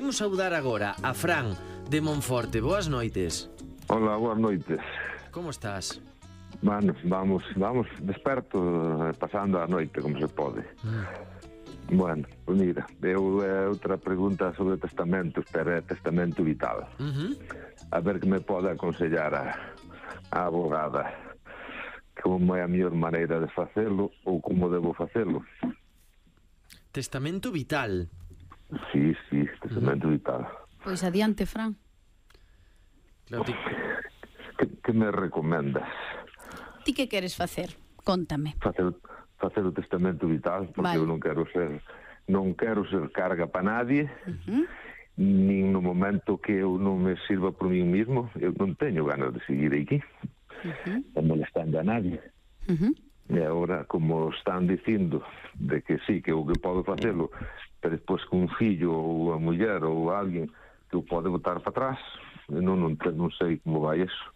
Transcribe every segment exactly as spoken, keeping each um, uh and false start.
imos saudar agora a Fran de Monforte. Boas noites. Hola, boas noites. Como estás? Bueno, vamos, vamos desperto, pasando a noite como se pode. Mm. Bueno, pues mira, eu é outra pregunta sobre testamentos, pero é testamento vital. Uh-huh. A ver que me pode aconsellar a, a abogada como é a mellor maneira de facelo ou como debo facelo. Testamento vital? Sí, sí, testamento uh-huh. vital. Pois adiante, Fran. Claro, ti... que, que me recomendas? Ti que queres facer? Contame. Facer... facer o testamento vital, porque vale. Eu non quero ser non quero ser carga para nadie, uh-huh. nin no momento que eu non me sirva por mí mismo, eu non teño ganas de seguir aquí, uh-huh. molestando a nadie. Uh-huh. E agora, como están dicindo de que sí, que eu que podo facelo, pero despois con un fillo ou a muller ou alguén que o pode botar para atrás, non, non, non sei como vai eso.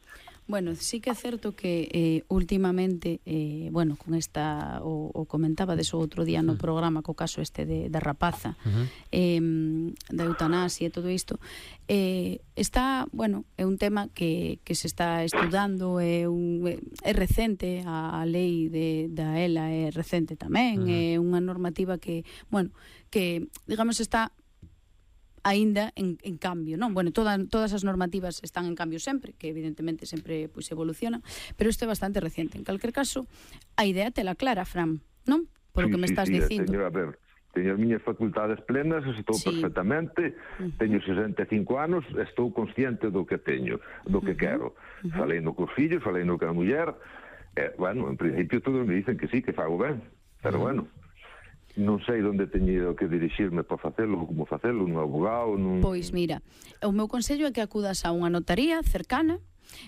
Bueno, sí que é certo que eh, últimamente, eh, bueno, con esta, o, o comentaba deso outro día no programa co caso este de, da rapaza, uh-huh. eh, da eutanasia e todo isto, eh, está, bueno, é un tema que, que se está estudando, é, un, é recente, a, a lei de, da E L A é recente tamén, uh-huh. é unha normativa que, bueno, que, digamos, está aínda en, en cambio, non? Bueno, toda, todas as normativas están en cambio sempre, que evidentemente sempre pois, evolucionan, pero isto é bastante reciente. En calquer caso, a idea te la clara, Fran, non? Por sí, o que me sí, estás sí, dicindo. Teño, a ver, teño as miñas facultades plenas, estou sí. perfectamente, uh-huh. teño sesenta e cinco anos, estou consciente do que teño, do que uh-huh. quero. Uh-huh. Falei no cos fillos, falei no que a muller, eh, bueno, en principio todos me dicen que sí, que fago ben, pero uh-huh. bueno, non sei onde teño que dirixirme para facelo, como facelo, nun abogado, nun... Pois mira, o meu consello é que acudas a unha notaría cercana,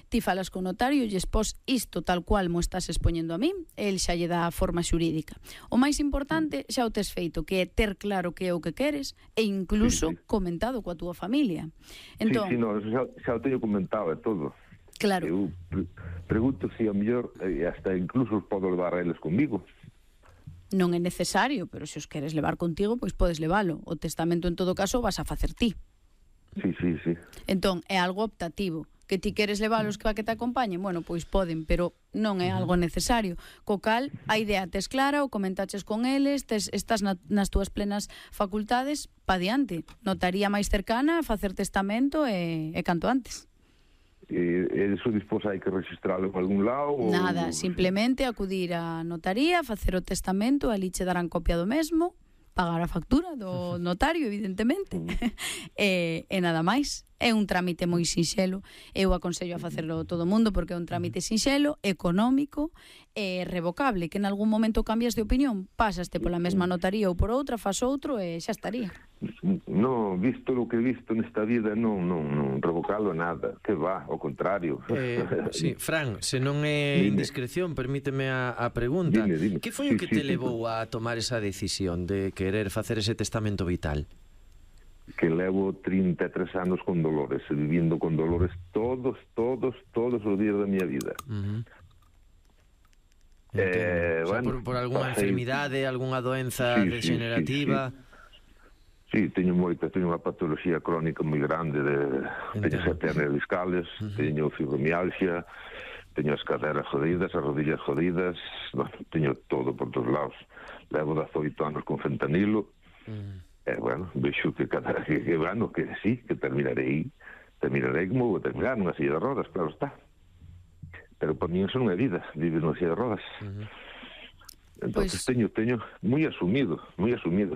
ti falas con o notario e expós isto tal cual mo estás expoñendo a mí, el xa lle dá a forma xurídica. O máis importante xa o tes feito, que é ter claro que é o que queres e incluso sí, sí. comentado coa túa familia. Entón, sí, sí, no, xa, xa o teño comentado e todo. Claro. Eu pre pregunto se a mellor eh, hasta incluso os podo levar a eles comigo. Non é necesario, pero se os queres levar contigo, pois podes levalo. O testamento, en todo caso, vas a facer ti. Sí, sí, sí. Entón, é algo optativo. Que ti queres levalos que va que te acompañen, bueno, pois poden, pero non é algo necesario. Co cal, a idea tes clara, o comentaches con eles, tes, estás na, nas túas plenas facultades, pa diante. Notaría máis cercana, facer testamento e, e canto antes. E eso despois hai que registralo en algún lado? Nada, ou... simplemente acudir á notaría, facer o testamento, ali che darán copia do mesmo, pagar a factura do notario, evidentemente, e, e nada máis. É un trámite moi sinxelo, eu aconsello a facerlo todo o mundo porque é un trámite sinxelo, económico e revocable, que en algún momento cambias de opinión, pasaste pola mesma notaría ou por outra, faz outro e xa estaría. No, visto o que he visto nesta vida, non, non, non revocalo nada, que va, ao contrario. Eh, sí, Fran, se non é indiscreción, permíteme a, a pregunta. Dime, dime. Que foi o sí, que sí, te sí, levou a tomar esa decisión de querer facer ese testamento vital? Que levo trinta e tres anos con dolores, vivindo con dolores todos, todos, todos os días da miña vida. Uh-huh. eh, o sea, bueno, por, por alguna pasei... enfermidade, algunha doenza sí, degenerativa? Sí, sí, sí. Sí, teño moita, teño unha patología crónica moi grande, de, teño sete hernias discales, uh-huh. teño fibromialgia, teño as caderas jodidas, as rodillas jodidas, bueno, teño todo por todos lados. Levo dezoito anos con fentanilo, uh-huh. Eh, bueno, vexo que cada que, que bueno, que sí, que terminarei terminarei como vou terminar nunha silla de rodas, claro está, pero para mí eso non é vida, vivir nunha silla de rodas. Uh-huh. Entonces pues... teño, teño moi asumido, moi asumido.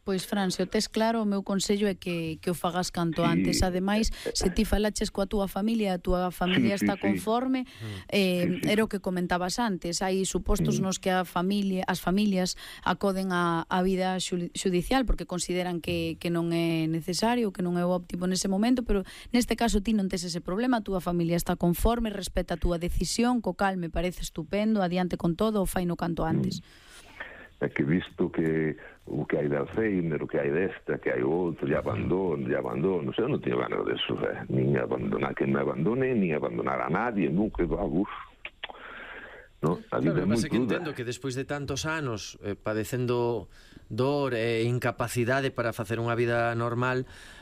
Pois, Fran, se o tes claro, o meu consello é que, que o fagas canto sí. antes. Ademais, se ti falaches coa túa familia, a túa familia sí, está sí, conforme, sí. Eh, sí, sí. era o que comentabas antes. Hai supostos sí. nos que a familia, as familias acoden a, a vida xudicial porque consideran que, que non é necesario, que non é o óptimo nese momento, pero neste caso ti non tes ese problema, a túa familia está conforme, respeta a túa decisión, co cal me parece estupendo, adiante con todo, o fai no canto antes. É que visto que o que hai de Alzheimer, o que hai desta, que hai outro, de abandono, de abandono, eu non teño ganas de eso, eh? Nin abandonar que me abandone, nin abandonar a nadie, nunca, uf, no, a vida claro, é moi que entendo que despois de tantos anos eh, padecendo dor e incapacidade para facer unha vida normal,